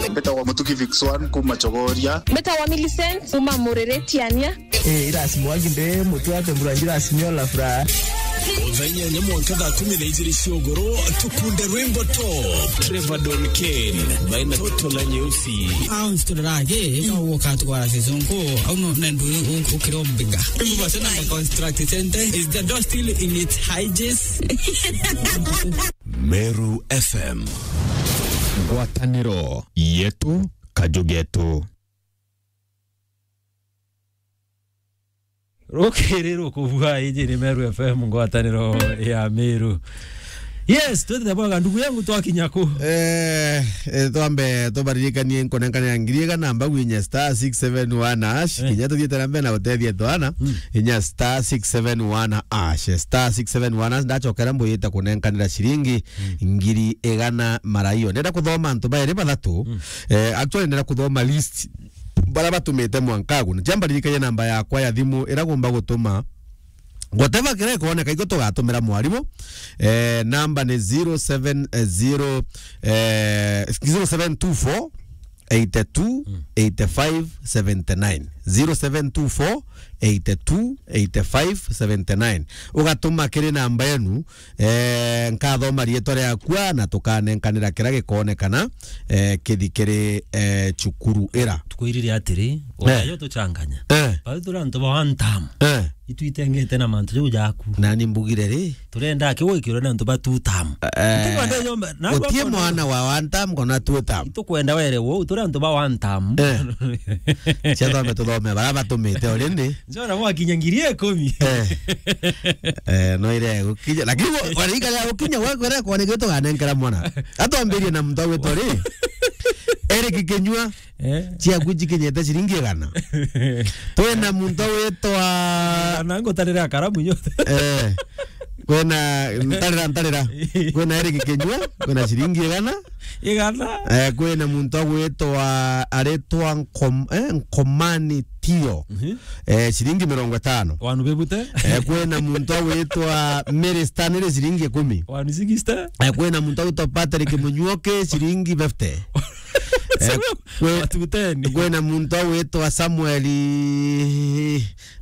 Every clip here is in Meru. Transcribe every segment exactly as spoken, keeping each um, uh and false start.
Mbetagwa Mutuki Vix One kuma Chogoria. Mbetagwa Millicent kuma Mureretiania. Eh, irasi mwagi mbe mutu ate mbura njira simio la furaha. Thaa inyanya mwanka thaa kumi na ijiri cia ugoro, tukunde rwimbo top. Trevor Don Kane, baina Toto la Nyeusi. Au nsiturage, ka uka twara season ko, au no nendu ukiro mbiga. Mbu basa na construct center, is the door still in its hinges? Meru F M. Ngwataniro yetu, kaju getu. Rukiri rukubua, iji ni Meru F M, ngwataniro ya Meru. Yes, twende bwaga, ndugu yangu, twakinya ku? Eh, eh, twambe tubaririkanie nkunenkanira ngiri igana mbagu inya star six seven one hash, eh, kinya tuthiete na mbere na gutethia twana, mm, inya star six seven one hash, star six seven one hash, ndachokera mbuyite kunenkanira ciringi, mm, ngiri igana mara iyo. Ndenda kuthoma antu bairi bathatu, mm, eh, actually ndenda kuthoma list bara batumite mwankagu. Na jambaririkania namba yakwa ya thimu ira gumba gutuma whatever kira ikoneka, iko tugatumira mwarimu. Eh, namba ni zero seven zero, eh, zero seven two four eight two eight five seventy nine. Zero seven two four eight two eight five seventy nine. Ugatuma kiri namba yenu, eh, nkathoma rietwa riakwa na tukanenkanira kira gikonekana, eh, kithi kiri, eh, cukuru ira. Tukwirire atiri, eh, oyo tuchanganya. Eh. Bau turi antu ba one term. Eh. Itu itengete na mantu jau jaku. Nani mbugire ri? Turenda kiwikirwe na antu ba two term. Eh, tukwenda yomba, na gutie mwana wa one term kana two term. Tukwenda were wo, turi antu ba one term. Eh. Cia thome tuthome, bara batumite already. Njona mwakinya ngiri ikumi. Eh. Eh, no ire gukinya. Lakini wa-, warika ya gukinya gwa kwera kwa nigito ganenkera mwana. Atwambirie na muntu witwa ri. Eric Kinyua. Eh. Ciaku cikinyete ciringi igana. Twina muntu witwa na ngutarira karamu nyote. Eh. Kwina ntarira, ntarira. Kwina Eric Kinyua, kwina ciringi igana. Igana. Eh, kwina muntu agwitwa, aritwa Nkom-, eh, Nkomani Tio. Mhm. Eh, ciringi mirongo itano. Wanu bebute. Eh, kwina muntu agwitwa Mary Stanley, ciringi ikumi. Wanu sixty. Eh, kwina muntu agwitwa Patrick Munyuoke, ciringi fifty. Eh, kwe-, watu ten. Kwina muntu agwitwa Samuel,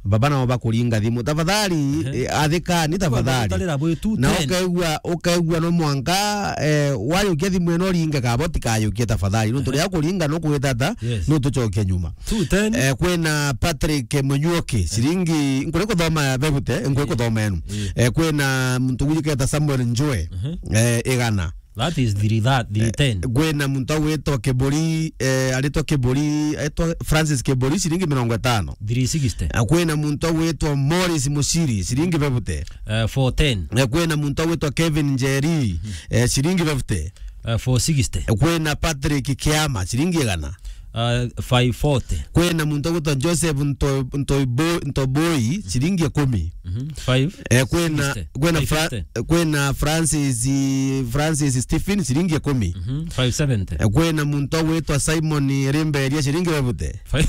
baba nao bakuringa thimu. Tafadhali, ehe, eh, athikani, tafadhali. Tafadhali, na ukaigua, ukaigua no mwanka, eh, wayukia thimu ino ringe kabo tikayukie tafadhali. Nuntu ria kuringa no kugitata, yes, no tucoke nyuma. Two ten. Eh, kwina Patrick Munyuoki, ciringi, nkuri kuthoma bebute, nkuri kuthoma enu. Eh, kwina muntu wijiketa Samuel Njue, eh, igana. That is three, that, three ten. Eh, kwina muntu agwitwa Kiburi, eh, aritwa Kiburi, aitwa Francis Kiburi, ciringi mirongo itano. Three sixty. Eh, kwina muntu agwitwa Morris Muciri, ciringi bebute. Eh, four ten. Eh, kwina muntu agwitwa Kevin Njeri, eh, ciringi bebute. Eh, four sixty. Eh, kwina Patrick Kiama, ciringi igana. Uh, five forty. Kwina muntu agwitwa Joseph Nto-, Ntoibo-, Ntoboi, ciringi ikumi. Mhm. Five sixty. Eh, kwina, kwina Fra-, five fifty. Kwina Francis, Francis Stephen, ciringi ikumi. Mhm. Five seventy. Eh, kwina muntu agwitwa Simon Rimberia, ciringi bebute. Five.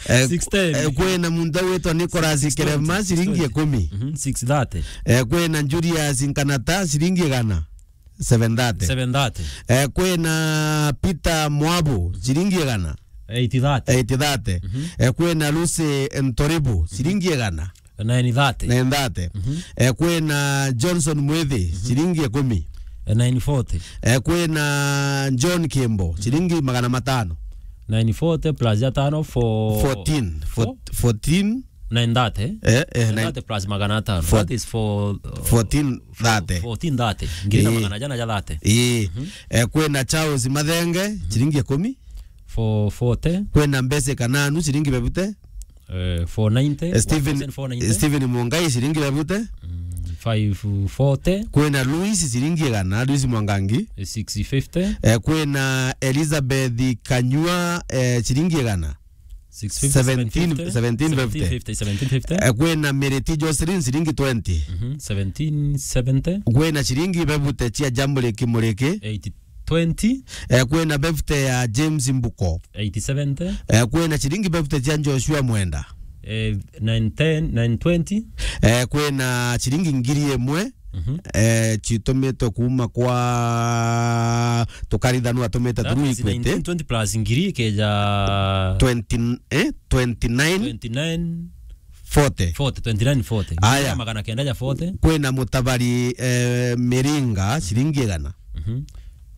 Eh, six ten. Eh, kwina muntu agwitwa Nicholas Kirema, ciringi ikumi. Mhm. Six thirty. Eh, kwina Julius Nkanata, ciringi igana. Seven thirty. Seven thirty. Eh, kwina Peter Mwabu, ciringi igana. Eight thirty. Eight thirty. Mhm. Eh, kwina Lucy Ntoribu, ciringi igana. Nine thirty. Nine thirty. Mhm. Eh, kwina Johnson Mwithi, mhm, ciringi ikumi. Eh, nine forty. Eh, kwina John Kimbo, mhm, ciringi magana matano. Nine forty plus ya tano, four, fourteen. Four? Four-, fourteen. Nine thirty, eh? Eh, eh, nine thirty plus magana atano. Four-, that is for, uh, fourteen thirty. Fourteen thirty. Ngiri na magana jana ja thirty. Ii. Mhm. Eh, kwina Charles Mathenge, mhm, ciringi ikumi. Four forty. Kwina Mbese Kananu, ciringi bebute. Eh, four ninety. Eh, Stephen, one thousand four ninety. Stephen Mungai, ciringi bebute. Mm, five forty. Kwina Louis, ciringi igana, Louis Mwangangi. Eh, six fifty. Eh, kwina Elizabeth Kanyua, eh, ciringi igana. Six fifty, seventeen, seventeen fifty. Seventeen fifty, seventeen fifty. Eh, kwina Miriti Jocelyn, ciringi twenty. Mhm, seventeen seventy. Kwina ciringi bebute cia Jambo Liki Muriki. Eight twenty. Eh, kwina bebute ya James Mbuko. Eight seventy. Eh, kwina ciringi bebute cia Joshua Mwenda. Eh, nine ten, nine twenty. Eh, kwina ciringi ngiri imwe. Mhm. Eh, citumitwe kuuma kwa Tukaritha nu atumite That through is Equity. Nineteen twenty plus ngiri ikeja twenty, eh, twenty-nine. Twenty-nine. Forty. Forty, twenty-nine forty. Aya. Magana kenda ja forty. Kwina Mutabari, eh, Miringa, ciringi igana. Mhm.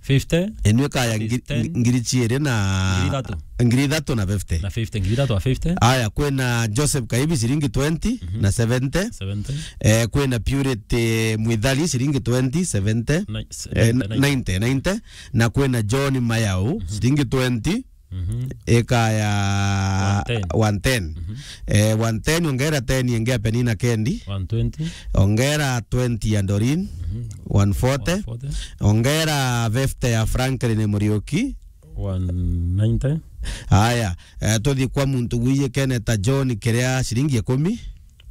Fifty. Enu ikaya ngiri, fifty. Ngiri ciiri na ngiri ithatu. Ngiri ithatu na fifty. Na fifty, ngiri ithatu na fifty. Aya, kwina Joseph Kaibi, ciringi twenty, mhm, na seventy. Seventy. Eh, kwina Purity Mwithari, ciringi twenty, seventy. Ni-, eh, seventy, ninety, ninety. Na kwina John Mayau, mhm, ciringi twenty. Mhm. Ikaya one ten. One ten. Mhm. Eh, one ten, ongera ten ingi ya Penina Kendi. One twenty. Ongera twenty ya Doreen. Mhm. One forty. One forty. Ongera fifty ya Franklin Muriuki. One ninety. Aya, eh, tuthi kwa muntu wiyikene ta John Kiria, ciringi ikumi.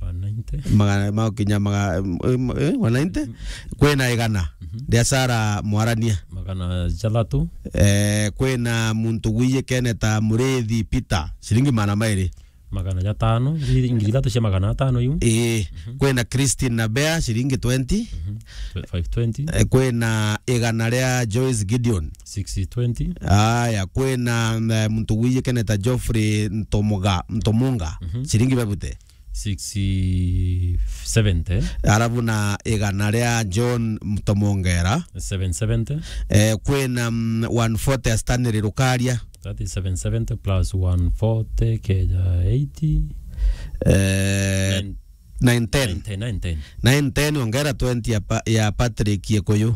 One ninety. Magana, makinya maga-, eh, eh, one ninety? Mm. Kwina igana. Mhm. Ria Sarah Mwarania. Magana jathatu. Eh, kwina muntu wiyikene ta Murithi Peter, ciringi magana mairi. Magana jatano, ngiri, ngiri ithatu cia magana atano iu. Ii. Mhm. Kwina Christine Nabea, ciringi twenty. Mhm. Tw-, five twenty. Eh, kwina igana ria Joyce Gideon. Six twenty. Aya, kwina, eh, muntu wiyikene ta Geoffrey Ntomoga-, Ntomunga, mhm, ciringi bebute. Six seventy. Arabu na igana ria John Mtomongera. Seven seventy. Eh, kwina, mm, one forty ya Stanley Rukaria. That is seven seventy plus one forty, keja eighty. Eh, nine, nine ten. Nine ten, nine ten. Nine ten, ongera twenty ya Pa-, ya Patrick Gikuyu.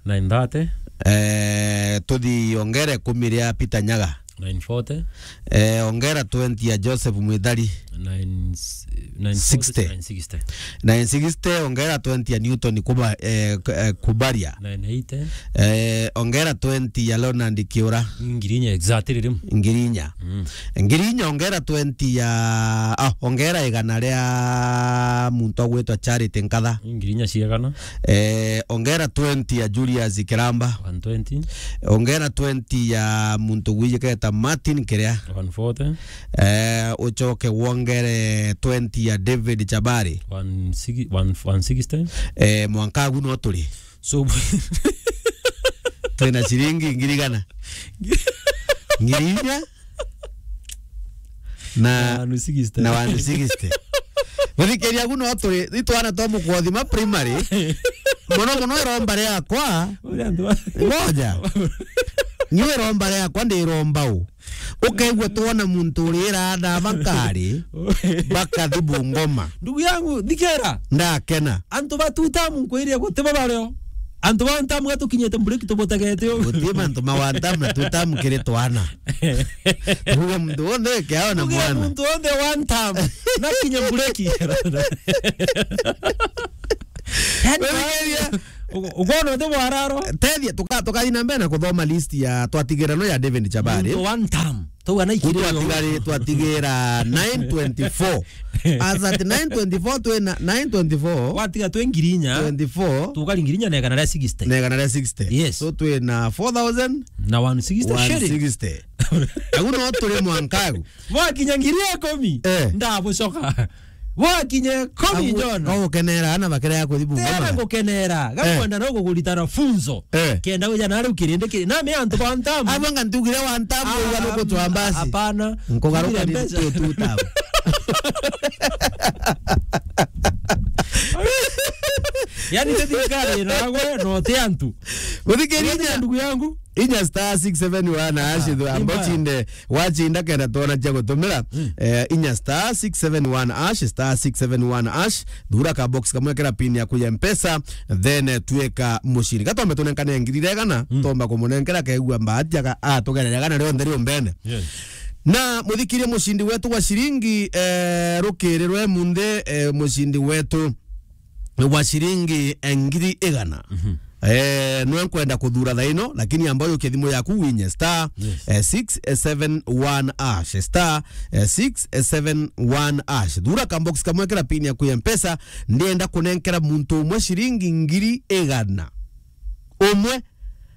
Nine thirty. Eh, tuthi ongera ikumi ria Peter Nyaga. Nine forty. Eh, ongera twenty ya Joseph Mwithari. Nine, nine forty, sixty. Nine sixty. Nine sixty, ongera twenty ya Newton Kuba-, eh, K-, eh, Kubaria. Nine eighty. Eh, ongera twenty ya Leonard Kiura. Ngiri inya exactly riu. Ngiri inya. Mm. Ngiri inya ongera twenty ya, ah, ongera igana ria muntu agwitwa Charity Nkatha. Ngiri inya ciegana. Eh, ongera twenty ya Julius Kiramba. One twenty. Ongera twenty ya muntu gwijiketa Martin Kiria. One forty. Eh, ucoke wongere twenty ya David Chabari. One sixty, one, one sixty. Eh, mwanka agu no turi. So, twina ciringi ngiri igana? Ngiri inya? Na, na one sixty. Na one sixty. Guthikiria agu no turi, ni twana twa Mukothima primary. Mono mono iromba riakwa. Uria antu ba- Ngoja. Niwe iromba riakwa ndi iromba u. Ukaigua twona muntu urira na bakari, bakathi Bungoma. Ndugu yangu, thikera. Ndakena. Antu ba two term nkwire gutiba bario. Antu ba one term gatukinyite mburiki tubutegete u. Guti mantu ma one term na two term kiri twana. Tuge muntu wonthe kiao na mwana. Muntu wonthe one term. Na kinya mburiki. Yani, wewe, u-, ukoona uti bwararo? Tethia, tuka-, tukathi na mbere na kuthoma list ya twatigirano ya David Chabari. Muntu one term. Tauga na ikiri. Twatigari-, twatigira nine twenty-four. As at nine twenty-four, twina nine twenty-four. Watiga twi ngiri inya. Twenty-four. Tukari ngiri inya na igana ria sixty. Na igana ria sixty. Yes. So twina four thousand. Na one sixty shilling. One sixty. Agu no turi mwanka agu. Mwakinya ngiri ikumi. Eh. Ndabucoka. Wakinye komi. Agu, John. Ko gukenera ana bakira ya kuthi Bungoma. Tena gukenera. Eh. Gakwenda no kuguritana funzo. Eh. Kenda wija na riu kirindi kiri. Na me antu ba ntamu. Abo nga ntugire wa ntamu. Ah, uga nuko twa mbasi. Hapana. Nkugaruka ni tu, tu tamu. Yani, te thirikari na gwe, no te antu. Guthikiria. Ndugu yangu. Inya star six seven one hash, ah, amba imba. Uchinde, wachinda kenda twona cia gutumira, mm, eh, inya star six seven one hash, star six seven one hash, thura ka box kamwe kira pin yaku ya Mpesa, then, eh, tuika muciri. Gatombe tunenkane ngiri igana, mm, tomba kumunenkera kegua mbahati aka-, atugerere igana rionthe rio mbene. Yes. Na muthikirie mucindi wetu wa ciringi, eh, rukiri rwe munthi, eh, mucindi wetu wa ciringi, eh, ngiri igana. Mhm. Eh, nwe nkwenda kuthura thaino, lakini amba ujukie thimu yaku winye star, yes, eh, six seven one hash, star, eh, six seven one hash. Thura ka box kamwe kira pin yaku ya Mpesa, ndienda kunenkera muntu umwe ciringi ngiri igana. Umwe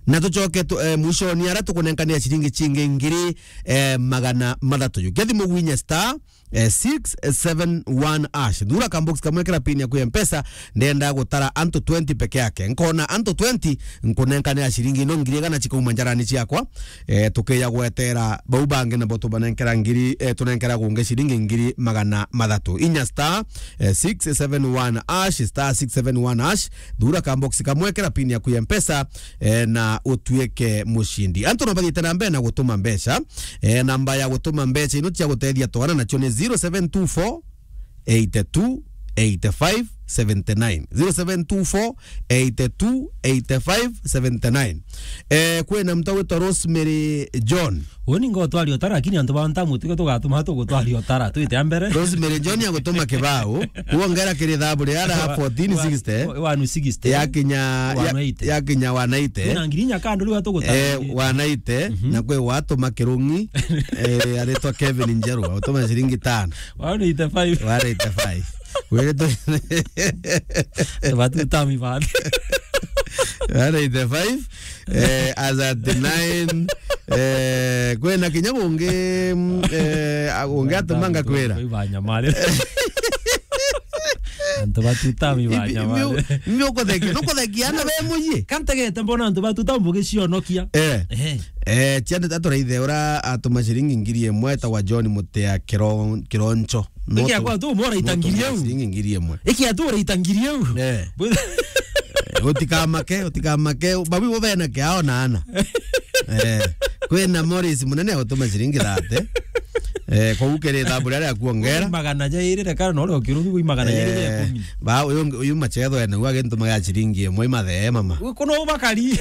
Na tucoke tu, eh, mwishoni ara tukunenkanira ciringi cingi ngiri, eh, magana mathatu. Jukia thimu gwinya star, eh, six seven one hash. Thura ka box kamwe, kira pin yaku ya Mpesa, ndenda gutara antu twenty peke yake. Nkona antu twenty, nkunenkanira ciringi ino ngiri igana cikauma njarani ciakwa. Eh, tukiya gwetera bau bangi nabo tubanenkera ngiri, eh, tunenkera gungi ciringi ngiri magana mathatu. Inya star, eh, six seven one hash, star six seven one hash. Thura ka box kamwe, kira pin yaku ya Mpesa, eh, na utuike mucindi. Antu no bathiite na mbere na gutuma mbeca. Eh, namba ya gutuma mbeca ino cia gutethia twana nacio ni zero seven two four eight two eight five seventy nine. Zero seven two four eight two eight five seventy nine. Eh, kwina mtu witwa Rosemary John. Uni ngotwaria utara, lakini antu ba ntamu tuge tugatuma tugutwaria utara, twite a mbere. Rosemary John agutuma kibao, kuongera kiri thabu ria ara fourteen sixty. Wa, wa, one sixty. Yakinya, ya, one eighty. Yakinya one eighty. Kwina ngiri inya kando riu atugutara. Eh, one eighty, mhm, na kwi watuma kirungi, eh, aritwa Kevin Njeru, agutuma ciringi tano. One eighty-five. One eighty-five. Wiri tu- Tubatu tami bati. One eighty-five, eh, as at nine, eh, kwina kinya bungi, mm, eh, a-, ungi atumanga kwira. Ibanyamare. Antu batutami ibanyamare. Mbi ukuthekia, nukuthekia ana be muyi. Kantegete mbona antu batuta mbugi cionokia. Eh. Eh. Eh, ciande taturaithe ura atuma ciringi ngiri imwe etagwa John Mutea Kiro-, Kironcho. Iki akwa tu mora itangiri eu. Ciringi ngiri imwe. Iki atura itangiri eu. Eh. Bu- Eh, utikamake, utikamake. Babu bo bena kiao na ana. Eh, kwina Morris munene agutuma ciringi thirty. Eh, kou kiri thabu riria akuongera. Magana jairi, rekana no rio kirungi, wi magana jairi ya ikumi. Ba, uyu, uyu machetho ene, uyu agintumaga ciringi imwe imathee, mama. Wi kuno ubakari.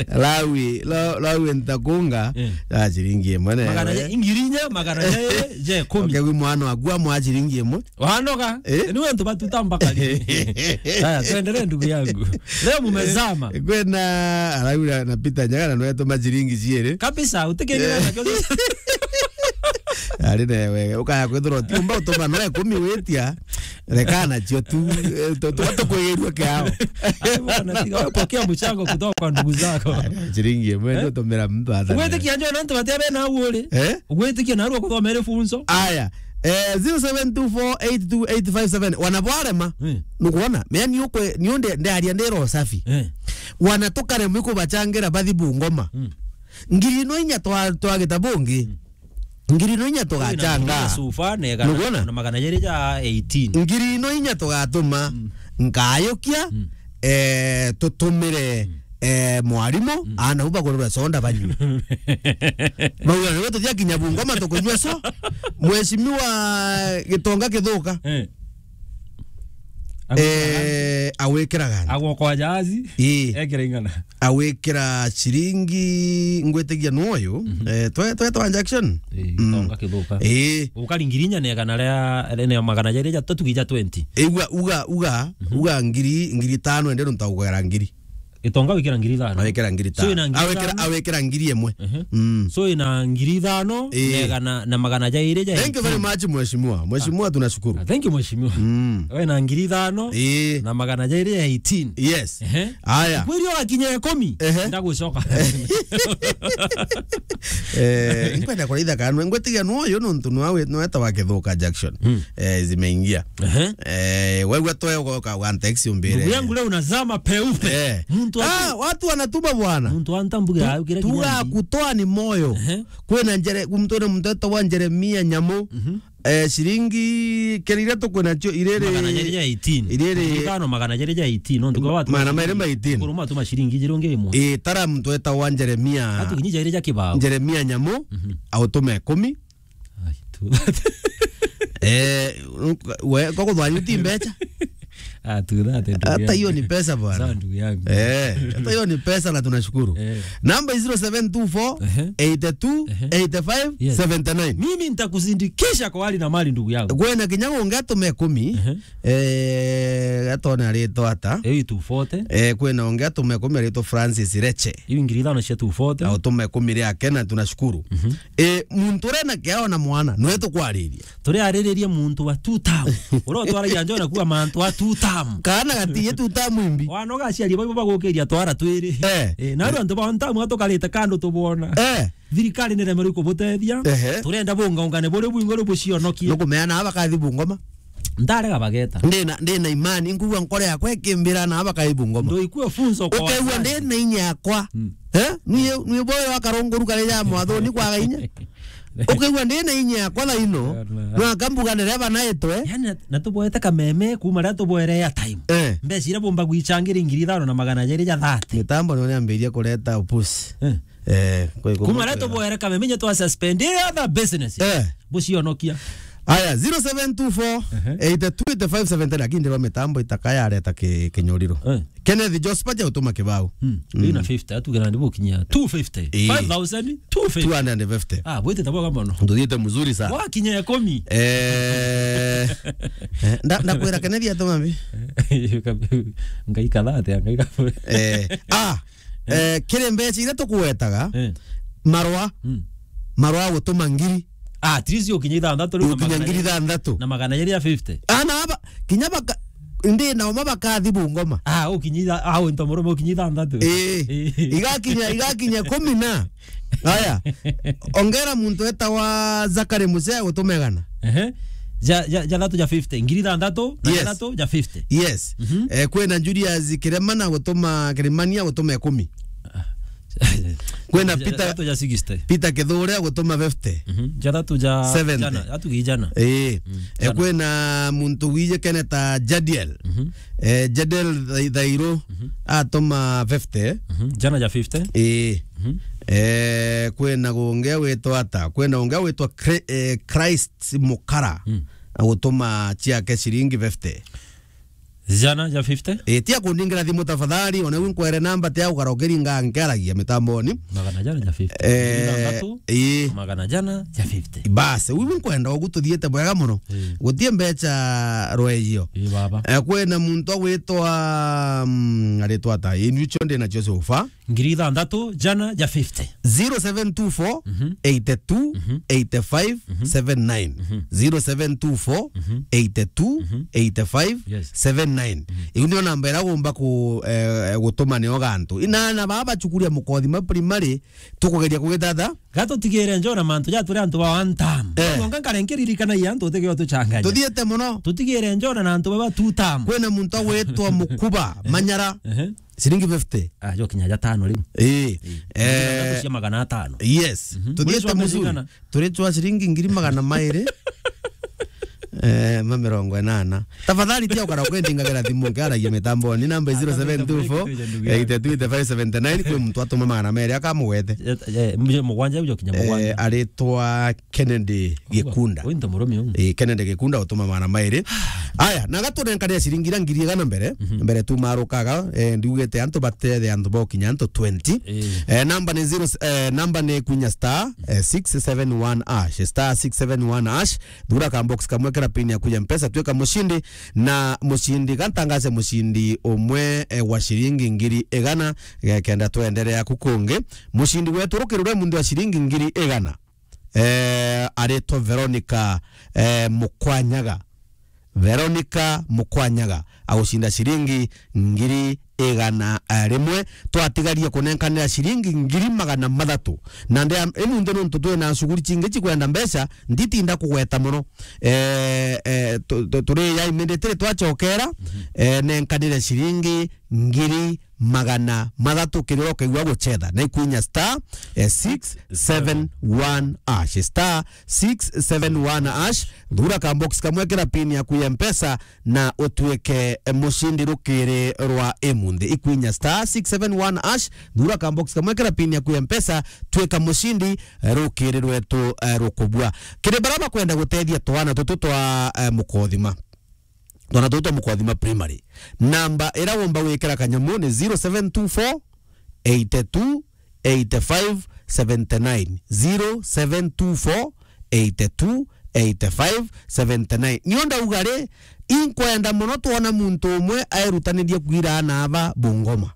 Lawi, la-, lawi ntakunga, eh, ya ciringi imwe ne. Magana ja-, ngiri inya, magana jairi, ja ikumi. Okay, wi mwana waku amwa ciringi imwe. Wanoga? Eh? Ni we ntu batuta mbakari. Haya, tuendelee ndugu yangu. Leo mumezama. Eh, kwena, alafu na, na Peter Nyaga na nwe tuma ciringi ciiri. Kabisa, utikengera na kyo. Ari na wega, ukaya kwithirwa ti umba utuma no ikumi witia. Reka nacio tu, eh, tu, tu, tukwigirua kiao. Ai bwana, tiga we pokea mchango kutoka kwa ndugu zako. Ari, ciringi imwe, eh? Ndio tumira mtu hata. Ugwitikia njo na antu batia bena uri. Eh? Ugwitikia na arua kuthomere funzo. Aya, eh, zero seven two four eight two eight five seven. Wana bwarema. Eh. Nukuona? Mea ni ukwe, ni unde, nde aria ndero safi. Eh. Wana tukaremwa ikubachangira bathi Bungoma. Mm. Ngiri no inya twa, twa gita bungi. Mm. Ngiri no inya tugachanga. Ngiri na sufa, na igana, nukuona? Na magana jairi ja eighteen. Ngiri no inya tugatuma, mm, nkayukia, mm, eh, tutumire, mm, eh, mwarimu, mm, ana uba kurura soda banyu. Mauga, "Nigwe tuthia kinya Bungoma tukunyua so." Mheshimiwa Gitonga Kithuka. Eh. Eh, agwikiraga nthi. Agwokwa jahazi. Ii. Ekira ing'ana. Agwikira ciringi, ngwitigia nwoyo. Mhm. Eh, twe-, twetwa Jackson. Ii, mm. Gitonga Kithuka. Ii. Ukari ngiri inya na igana ria, ria magana jairi ja tatu gija twenty. Igua, uga, uga, mhm, uga ngiri, ngiri tano ende ntaugera ngiri. Gitonga wikira ngiri ithano. Awikira ngiri ithano. So ina ngiri ithano. Awikira, awikira ngiri imwe. Ehe. Mm. So ina ngiri ithano, ii, na igana, na magana jairi ja eighteen. Thank you very much, mheshimiwa. Mheshimiwa, ah, tunashukuru. Ah, thank you, mheshimiwa. Mm. Wina ngiri ithano, ii, na magana jairi ja eighteen. Yes. Ehe. Aya. Kwiri ogakinya ikumi, ehe, ndagucoka. Eh, nkwenda kuraitha kana ngwitigia nwoyo nontu nwawe, nweta wa Kithuka Jackson. Mm. Eh, zimeingia. Ehe. Eh, wewe toe ugoka wa text umbire. Ndugu yangu leo unazama peupe. Eh. Mtu atu- Ah, watu wanatuma bwana. Mtu antambuge. Tu-, aukire tuga kinyani. Kutoa ni moyo. Ehe. Kwina njere, kumtone mtoto wa Jeremia Nyamu. Mhm. Eh, ciringi kiri iria tukwina cio iriri. Magana jairi ja eighteen. Iriri. Ngiri ithano magana jairi ja eighteen, no ndugu watu. Magana mairi ma eighteen. Kuruma tuma ciringi jiru ngi imwe. Eh, tara mtoto wa Jeremia. Atu kinyi jairi ja kibao. Jeremia Nyamu, mhm, autume ikumi. Ai, tu. Eh, we, kwa kuthwani uti mbecha? Ah, tu that, ndugu yangu. Hata hiyo ni pesa bwana. Sawa, ndugu yangu. Eh, hata hiyo ni pesa na tunashukuru. Eh. Namba is zero seven two four, ehe, eight two, eight five, seventy nine. Yes. Mimi nitakusindikisha kwa hali na mali, ndugu yangu. Kwina kinya ungi atume ikumi. Ehe. Eh, atone aritwa ata. Eh, two forty. Eh, kwina ungi atume ikumi aritwa Francis Reche. Hiyo ngiri ithano cia two forty. Autume ikumi riake na tunashukuru. Mhm. Eh, muntu urena kiao na mwana, nwe tukwariria. Turiariririe muntu wa two town. Uria utwaragia njo na kuga mantu a two town. term. Kaana gatiye two term imbi. Wana ugaciaria baibo bagukiria twara twiri. Eh. Eh, na antu ba one term atukarite kando tubona. Eh. Thirikari ni remerwe kubutethia. Ehe. Turenda bungaungane buri bwingi ri bucionokie. Nukumeana aba kathi Bungoma. Ndarega bageta. Ndina, ndina imani, nkugua nkore yakwa ikimbira na aba kathi Bungoma. Ndoikue funzo kwa ukeigua wazazi. Ndina inya yakwa. Mm. Eh? Niye, niye boyo akarunguru kare ya mwathoni kwaga inya. Ukeigua ndina inya yakwa thaino. Yona. No akambuga nere banaitwe. Yani, na, na tuboete kameme kuma ria tuboere ya time. Eh. Mbeca iria bomba gwichangira ngiri ithano na magana jeri ja thirty. Mitambo nio niambirie kureta upusi. Eh. Eh, kwe-, kwe-, kuma ria tuboere kameme nye twa suspend other business. Eh. Bucionokia. Aya, zero seven two four, eight two eight five seven ten, lakini ndirwa mitambo itaka yareta ki-, kinyuriro. Eh. Kenneth Jospa ja utuma kibao. Hmm. Mm. Ina fifty, atugira ndi bukinyia two fifty. Eh. Five thousand two fifty. Two hundred and fifty. Ah, bwite tabo kama no. Nduthiite mzuri sana. Wakinya ikumi. Eh, eh, nda-, ndakwira Kenneth atuma mbi. Ngai kathate, ngai kabu. Eh, ah, eh, kiri mbeca iria tukuwetaga, eh, marwa, mm, marwa gutuma ngiri. Ah, at least ukinya ithanthatu riu na ukinya magana ngiri ithanthatu. Na magana jeri ya fifty. Ana aba, kinya baka, ndi na uma bakathi Bungoma. Ah, ukinya itha-, ah, unto murume ukinya ithanthatu. Eh, eh, igakinya, igakinya kumi na. Aya, ongera muntu etawa Zakari Musea gutuma igana. Ehe. Ja, ja, ja thatu ja fifty. Ngiri ithanthatu na, yes, ja thatu ja fifty. Yes. Mhm. Eh, kwina Julius Kiremana gutuma, Kirimania gutuma ikumi. Ah. Kwina ja, Peter, ja thatu ja sixty. Peter Kithure gutuma fifty. Mhm. Ja thatu ja seventy. Jana, atugi jana. Eh. Mm. Eh, jana. Kwina muntu wije Kenneth Jadiel. Mhm. Eh, Jadiel Thai-, Thairu, mhm, atuma fifty. Mhm. Jana ja fifty. Eh. Mhm. Eh, kwina gungi witwa ata? Kwina gungi witwa Chri-, eh, Christ Mukara. Mm. Agutuma ciake ciringi fifty. Jana ja fifty? Eh, tia kundingira thimu tafadhali, ona wiu nkwere namba tia gukara ukiringa nkiaragia mitamboni. Magana jana ja fifty. Eh, ithanthatu, ii. Magana jana ja fifty. Basi, wiu nkwenda ugu tuthiite bwega muno. Ii. Gutie mbeca rweio. Ii, baba. Eh, kwina muntu agwitwa, mm, aritwa ata? Ii, niu cio ndi nacio so far. Ngiri ithanthatu, jana ja fifty. Mhm. Zero seven two four, eight two, eight five, seven nine. Mhm. Zero seven two four, eight two, eight five, seven nine. Mhm. Iu nio namba iria ugomba ku-, eh, gutuma nio gantu. Inana baba bacukuria mukothi ma primary, tukugeria kugithatha. Gatutigire njona mantu ja turi antu ba one term. Eh. Nonga nkare nkiririkanagia antu utige utuchanganya. Tuthiite muno. Tutigire njona na antu baba two term. Kwina muntu agwitwa Mukuba, Manyara. Ehe. Ciringi fifty. Ah, jo kinya ja tano riu. Ii. Ii. Eh, cia magana atano. Yes. Mhm. Tuthiite muzuri. Turi twa ciringi ngiri magana mairi. Eh, ma mirongo inana. Tafadhali tia ukara ukwendingagira thimu nkiaragia mitamboni. Namba zero seven two four, eight two eight five seven nine. Kwi muntu atuma magana mairi akamugwete. Eh, eh, mugwanja ujo kinya mugwanja. Eh, aritwa Kennedy Gikunda. Uyu nto murume uyu. Eh, Kennedy Gikunda utuma magana mairi. Aya, na gatunenkania ciringi iria ngiri igana mbere, mhm, mbere tumarukaga, eh, ndiugite antu batete antu bokinya antu twenty. Eh. Eh, namba ni zero, eh, namba ni kunya star, eh, six seven one hash, star six seven one hash, thura ka box kamwe kira pin yaku ya Mpesa, twika mushindi, na mushindi, gantangaze mushindi umwe, eh, wa ciringi ngiri igana, eh, kenda twenderea ku kungi. Mushindi wetu rukirure muntu wa ciringi ngiri igana. Eh, aritwa Veronica, eh, Mukwanyaga. Veronica Mukwanyaga agucinda ciringi ngiri igana, eh, rimwe. Twatigarie kunenkanira ciringi ngiri magana mathatu. Na ndea, imunthi nontu twina shughuli cingi cikwenda mbeca, nditinda kugweta muno. Eh, eh, tu-, tu-, turi ya immediately twacokera, mhm, eh, nenkanire ciringi ngiri magana mathatu kiri uria ukaigua gucetha. Na ikwinya star, eh, six seven one hash. Star six seven one hash. Thura ka box kamwe kira pin yaku ya Mpesa na utuike, eh, mucindi rukiri rwa imunthi. Ikwinya star six seven one hash. Thura ka box kamwe kira pin yaku ya Mpesa, twika mucindi, eh, rukiri rwetu, eh, rukubua. Kiri bara bakwenda gutethia twana tutu twa, eh, mukothima. Twana tutu twa Mukothima Primary. Namba ira womba gwikira kanyamu ni zero seven two four, eight two, eight five, seventy nine. Zero seven two four, eight two, eight five, seventy nine. Nio ndauga ri, inkwenda muno twona muntu umwe airutanirie kwira ana aba Bungoma.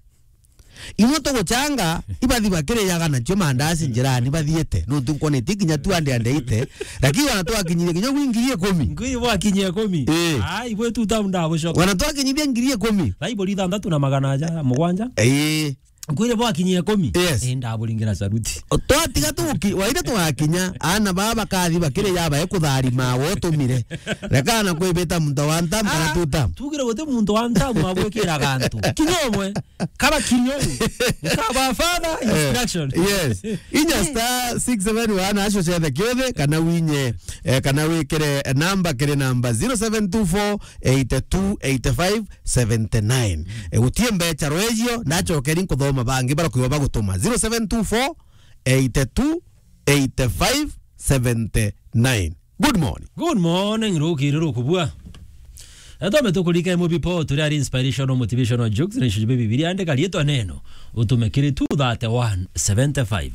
Imwe tuguchanga, ibathi bakirijaga nacio mandazi njirani bathiite. Nuntu nkwonete kinya tu ande ande ite. Lakini wana twakinyirie kinya gwi ngiri ikumi. Ngwiri bwakinyia ikumi. Ii. Ai, bwe tu town ndabucoka. Wana twakinyithia ngiri ikumi. Thaiburi ithanthatu na magana aja, mugwanja. Ii. Ngwire bwakinyia ikumi. Yes. Ii, ndaburingira saruti. Twatiga tuki-, waire tugakinya, ana baba bakathi bakiri ya bae kutharima, wotumire. Reka na kwibita muntu wa ntamu kana Ah, tuta. Tugire guti muntu wa ntamu abwikira gantu. Kinya umwe. Kaba kinya uyu. Kaba father Eh, instruction. Yes. Inya star six seven one, acio ciothe kiothe, kana winye, eh, kana wikire namba kiri namba zero seven two four eight two eight five seventy nine. E, gutie mbecha rwejio, nachokeri nkuthoma bangi barakuiwa bagutuma. Zero seven two four eight two eight five seventy nine. Good morning. Good morning, rukiri rukubua. Etome tukurika emu bipo, turi ari inspirational, motivational jokes, na ishuju Bibilia, andika rietwa neno, utume kiri two thirty-one seventy-five.